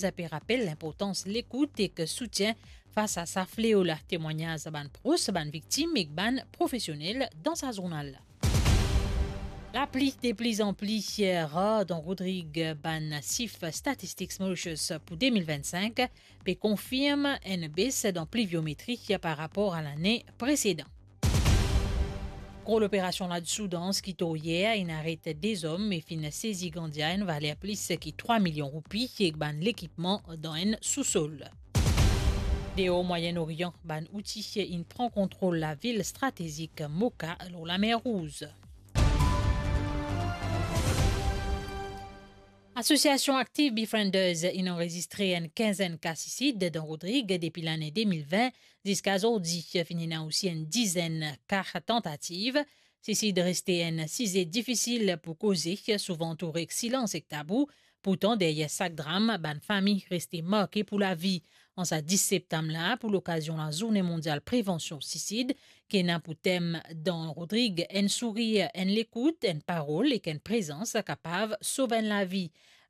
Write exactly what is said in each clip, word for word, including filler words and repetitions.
Sa pe rapel linportans lekout ek soutien fas a sa fleo la. Temwagnaz bann pros, bann viktim ek bann profesionel dan sa zournal la. Lapli de plizanpli rar dan Rodrig. Bann sif Statistics Mauritius pou de mil vinn-sink pe konfirm enn bes dan pliviometri par rapor a lane presedan. Gro loperasion la Soudan ki tou yer, inn aret de zom e finn sezi gandia enn valer plis ki trwa milion roupi ek bann lekipman dan enn sousol. Deor Mwayen Orian, bann Outi inn pran kontrol lavil stratezik Moka lor Lamer Rouz. Asosiasion Active Befrienders inn anrezistre enn kinzenn ka sisid dan Rodrig depi lane de mil vin ziska zordi. Finn ena osi enn dizenn ka tantativ. Sisid reste enn size difisil pou koze, souvan antoure ek silans ek tabou. Pourtan, deryer sak dram, bann fami reste marke pou lavi. An sa dis septam la, pou lokazion Lazourne Mondial Prevansion Sisid, ki ena pou tem dan Rodrig, enn sourir, enn lekout, enn parol ek enn prezans kapav sov enn lavi.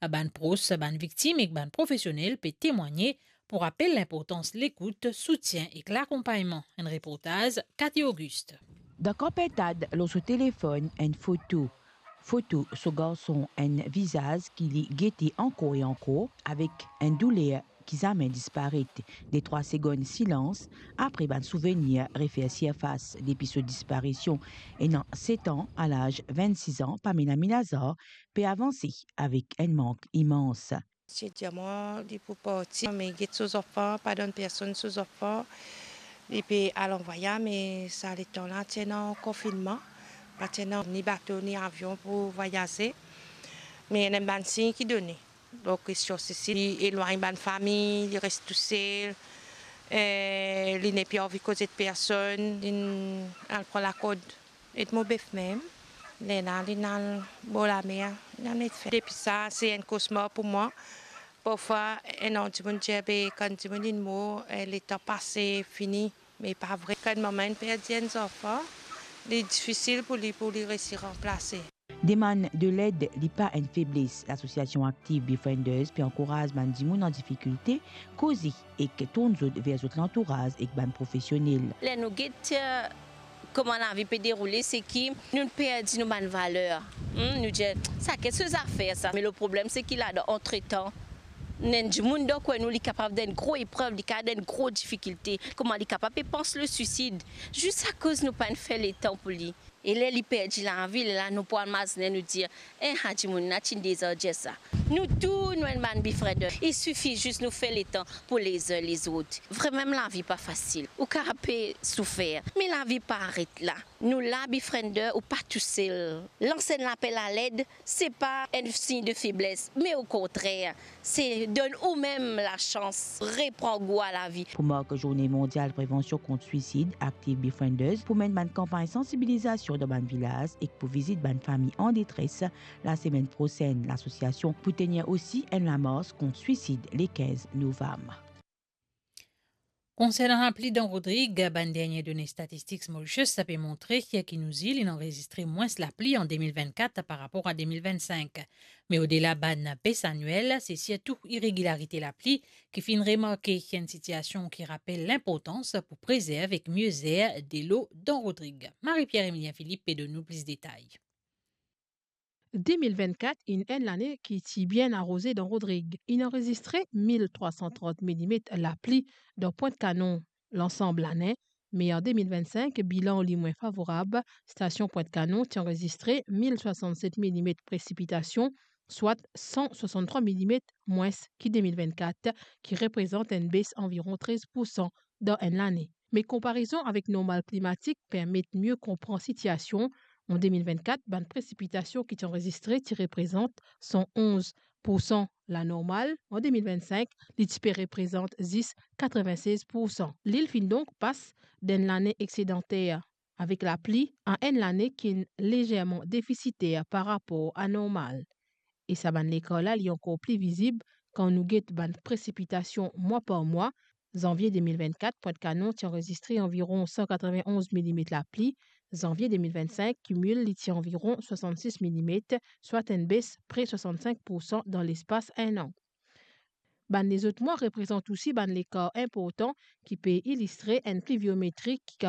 Bann pros bann viktim ek bann profesionel pe temwagne pou rapel linportans lekout, soutien ek lakonpagnman. Enn reportaz Cathy Auguste. Dan kan Pintad lor so telefonn enn foto, foto so garson, enn vizaz ki li gete ankor e ankor, avek enn douler ki zame disparet. De trwa segonn silans, apre bann souvenir refer sirfas. Depi so disparision, ena set an, a laz vinn-sis an, Pamela Milazar pe avanse avek enn mank imans. Ti dir mwa, li pou parti, me get so zanfan, pa donn personn so zanfan. Li pe al an vwayaz, me sa letan la ti ena konfinnman, pa ti ena ni bato, ni avion pou vwayaze. Me ena bann sign ki done. Donk, li sorti, li elwagn bann fami, li res tousel, eh, li nepli anvi koze ek personn, li al pran lakord ek mo bef mem. Lerla li al bor lamer, li al met fen. Depi sa, se enn kosmar pou mwa. Parfwa, ena dimoun dir, be, kan dimoun inn mor, eh, letan pase, fini. Me pa vre. Kan enn mama inn perdi enn zanfan, li difisil pou li, pou li resi ranplase. Demann de led, li pa enn febles. Lasosiasion Active Befrienders pe ankouraz bann dimoun an difikilte koze ek tourn zot ver zot lantouraz ek bann profesionel. Ler nou get, eh, kouma lavi pe deroule, se ki nou perdi nou bann valer. Hmm, nou dir, "Sa, ki so zafer sa?" Me le problem, se ki ladan, antretan, ena enn dimoun dan kwin nou, li kapav dan enn gro eprev, li kapav dan enn gro difikilte. Kouma li kapav pe pans le swisid, zis akoz nou pa'nn fer letan pou li. E ler li perdi lavi, lerla nou pou al mazinn, nou dir, "Eh, sa dimoun la ti deza dir sa." Nou tou, nou enn bann befriender. Il sifi zis nou fer letan pou les uns les autres. Vremem, lavi pa fasil. Ou kapav pe soufer, me lavi pa aret la. Nou la, befriender, ou pa tousel. Lans enn lapel a led, se pa enn sign de febles, me okontrer, se donn oumem lasans repran gou a lavi. Pou mark Zourne Mondial Prevansion kont Swisid, Active Befrienders pou menn bann kanpagn sansibilizasion dan bann vilaz ek pou vizit bann fami an detres lasemenn prosenn. Lasosiasion pou tenir osi enn lamars kont swisid le kinz novam. Konsernan lapli dan Rodrig, bann dernie done Statistics Mauritius pe montre ki nou zil inn anrezistre mwins lapli an de mil vinn-kat par rapor a de mil vinn-sink. Me odela bann bes aniel, se sirtou iregilarite lapli ki finn remarke, enn sitiasion ki rapel linportans pou prezerv ek mie zer delo dan Rodrig. Marie-Pierre Emilien Philippe pe donn nou plis detay. De mil vinn-kat inn enn lane ki ti bien aroze dan Rodrig. Inn anrezistre mil trwa san trant milimet lapli dan Pwint Kanon lansam lane, me an de mil vinn-sink, bilan li mwin favorab. Stasion Pwint Kanon ti anrezistre mil swasann-set milimet presipitasion, swat san swasann-trwa milimet mwins ki de mil vinn-kat, ki reprezant enn bes anviron trez poursan dan enn lane. Me konparezon avek normal klimatik permet mie konpran sitiasion. An de mil vinn-kat, bann presipitasion ki ti anrezistre ti reprezant san onz poursan lanormal. An de mil vinn-sink, li ti pe reprezant zis katrevin-sez poursan. Lil finn donk pas d'enn lane exedanter avek lapli a enn lane ki'nn lezerman defisiter par rapor a normal. E sa bann lekar la, li ankor pli vizib kan nou get bann presipitasion mwa par mwa. Zanvie de mil vinn-kat, Pwint Kanon ti anrezistre anviron san katrevin-onz milimet lapli. Zanvie de mil vinn-sink, kimil, li ti anviron swasann-sis milimet, swat enn bes pre swasann-sink poursan dan lespas enn an. Bann lezot mwa reprezant osi bann lekar inportan ki pe ilistre enn pliviometri ki